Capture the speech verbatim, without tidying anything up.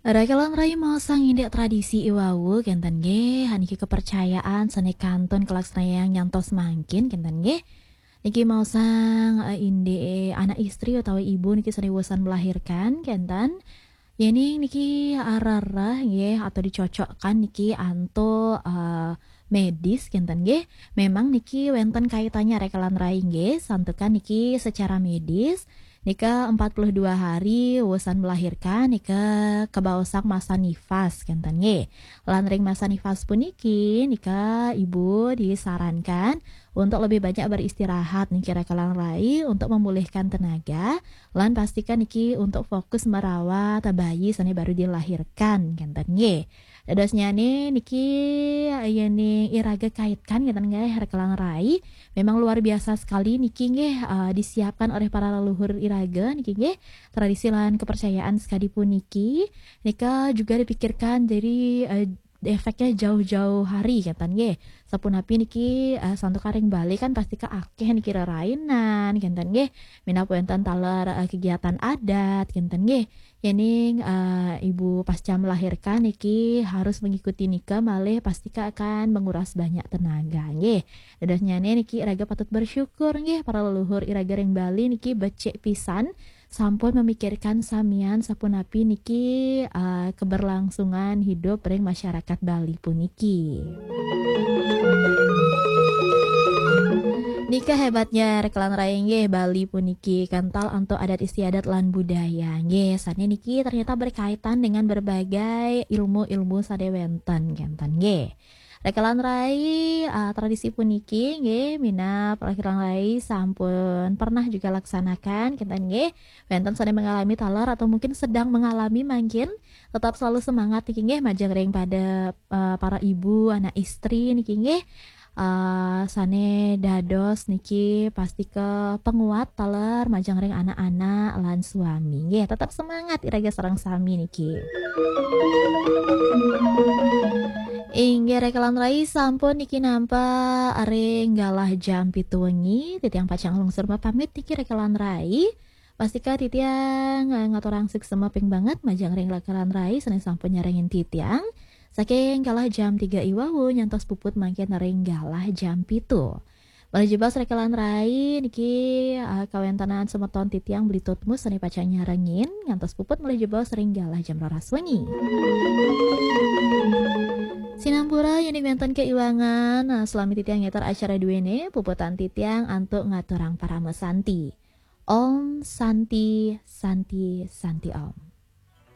Rakelan rai maosang indik tradisi i wau, kenten nggih. Niki kepercayaan sane kantun kalaksanayang nyantos mangkin, kenten nggih. Niki maosang, eh, indik anak istri utawi ibu niki sane wusan melahirkan, kenten. Yening niki arereh nggih atau dicocokkan niki antuk, eh, medis, kenten nggih. Memang niki wenten kaitannya, rakelan rai nggih, santukan niki secara medis nika empat puluh dua hari wusan melahirkan nika kebaosang masa nifas, kenten nggih. Lan ring masa nifas puniki nika ibu disarankan untuk lebih banyak beristirahat niki, rakelan rai, untuk memulihkan tenaga, lan pastikan niki untuk fokus merawat bayi sane baru dilahirkan, kenten nggih. Dadosnyane niki, yening iraga kaitkan, kenten nggih, rakelan rai, memang luar biasa sekali niki nggih, eh, disiapkan oleh para leluhur iraga niki nggih. Tradisi lan kepercayaan sekadi puniki nika juga dipikirkan dari, eh, efeknya jauh-jauh hari, kenten nggih. Sapunapi niki, eh, santukan ring Bali kan pastika akeh niki rerainan, kenten nggih. Minab wenten taler, eh, kegiatan adat, kenten nggih. Yening, eh, ibu pasca melahirkan niki harus mengikuti nika malih pastika akan menguras banyak tenaga nggih. Dadosnyane niki iraga patut bersyukur nggih, para leluhur iraga ring Bali niki becik pisan sampun memikirkan samian sapunapi niki, eh, keberlangsungan hidup ring masyarakat Bali puniki. Nika hebatnya, rakelan rai nggih, Bali puniki kental antuk adat istiadat lan budaya nggih. Sane niki ternyata berkaitan dengan berbagai ilmu-ilmu sane wenten, kenten nggih. Rakelan rai, eh, tradisi puniki nggih, minab rakelan rai sampun pernah juga laksanakan, kenten nggih. Wenten sane mengalami taler atau mungkin sedang mengalami mangkin, tetap selalu semangat niki nggih, majeng ring pada, eh, para ibu, anak istri niki nggih. Eh, sane dados niki pastika penguat taler majeng ring anak-anak lan suami nggih. Tetap semangat iraga sareng sami niki. Inggih, rakelan rai, sampun niki nampa ring galah jam pitu wengi, titiang pacang lungsur mapamit niki, rakelan rai. Pastika titiang, eh, ngaturang suksma ping banget majeng ring rakelan rai sane sampun nyarengin titiang. Saking galah jam tiga i wau nyantos puput mangkin ring galah jam pitu. Malih jebos, rakelan rai, niki, eh, kawentenan semeton titiang Beli Tutmus sane pacang nyarengin ngantos puput malih jebos ring galah jam roras wengi. Sinampura yening wenten kaiwangan, eh, salami titiang ngeter acara duene, puputan titiang antuk ngaturang parama santi. Om Santi, Santi, Santi Om.